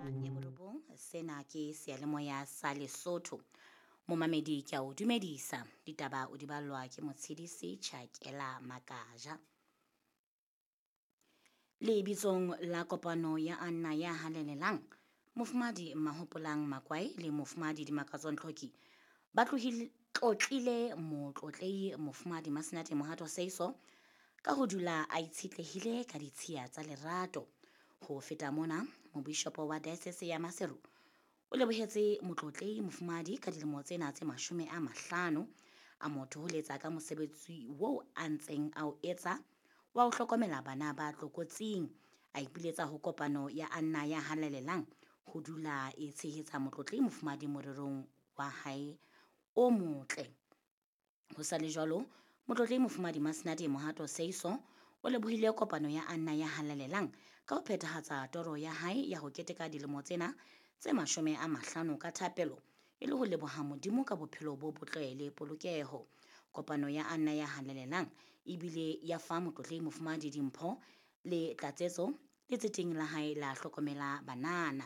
Ya borobong, sena ke seyalemoya sa Lesotho. Momamedi ke a o dumedisa. Ditaba o di ballwa ke Motshidisi Chakela Makaja. Lebitsong la kopano ya Anna ya halalelang, Mofumahadi Mahopolang Makwai le Mofumahadi Dimakatso Ntlhoki ba tlohile tlotlile motlotlehi Mofumahadi Masenate Mohato Seiso ka ho dula a itshetlehile ka ditshiya tsa lerato. Ho feta mona, mobishopo wa diocese ya Maseru o lebohetse motlotlehi mofumahadi ka dilemo tsena tse 50 a mo thoholetsa ka mosebetsi oo a ntseng a o etsa wa ho hlokomela bana ba tlokotsing. A ipiletsa ho kopano ya Anna ya halalelang ho dula e tshehetsa motlotlehi mofumahadi morerong wa hae o motle. Ho sa le jwalo, motlotlehi mofumahadi Masenate Mohato Seiso o lebohile kopano ya Anna ya halalelang ka ho phethahatsa toro ya hae ya ho keteka dilemo tsena tse 50 ka thapelo e le ho leboha Modimo ka bophelo bo botle le polokeho. Kopano ya Anna ya halalelang ebile ya fa motlotlehi mofumahadi dimpho le tlatsetso letseteng la hae la hlokomela banana.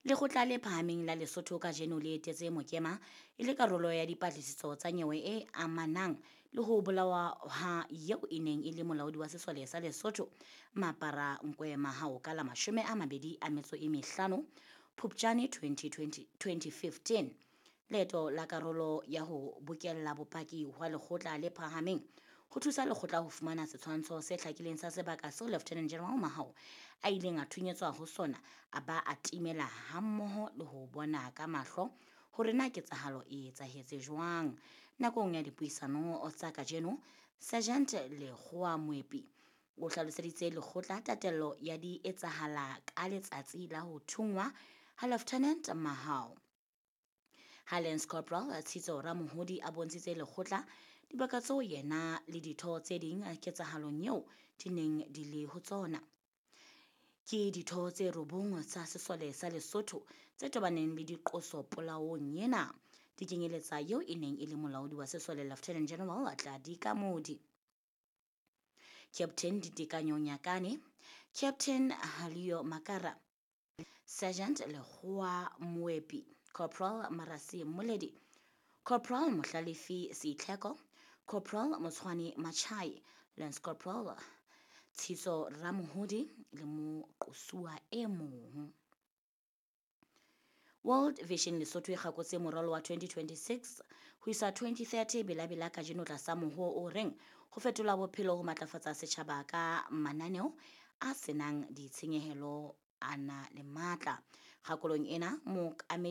Lekgotla le phahameng la Lesotho kajeno le etetse Mokema e le karolo ya dipatlisiso tsa nyewe e amanang le ho bolawa ha eo e neng e le molaodi wa sesole sa Lesotho Mapara Nkwe Mahao ka la 25 Phupjane 2020 2015. Leeto la karolo ya ho bokella bopaki hwa lekgotla le phahameng ho thusa lekgotla ho fumana setshwantsho se hlakileng sa sebaka seo Lieutenant General Mahao a ileng a thunyetswa ho sona a ba a timela hammoho le ho bona ka mahlo hore na ketsahalo e etsahetse jwang. Nakong ya dipuisano tsa kajeno, Sergeant Lekgowa Moepi o hlaloseditse lekgotla tatello ya di etsahala ka letsatsi la ho thungwa ha Lieutenant Mahao. Ha Lance Corporal Tshitso Ramohodi a bontshitse lekgotla dibaka tseo yena le ditho tse ding ketsahalong eo di neng di le ho tsona. Ke ditho tse 9 tsa sesole sa Lesotho tse tobaneng le diqoso polaong ena. Di kenyeletsa eo e neng e le molaodi wa sesole Lieutenant General Tladi Kamodi, Captain Ditekanyo Nyakane, Captain Halio Makara, Sergeant Lekgowa Moepi, Corporal Marasi Moledi, Corporal Mohlalefi Seitlheko, Corporal Motshwane Machai, Lance Corporal Tshitso Ramohodi le moqosuwa e mong. World Vision Lesotho e kgakotse moralo wa 2026 ho isa 2030 belabela kajeno tlasa mohoo o reng ho fetola bophelo ho matlafatsa setjhaba ka mananeo a senang ditshenyehelo a na le matla. Kgakolong ena, mookamedi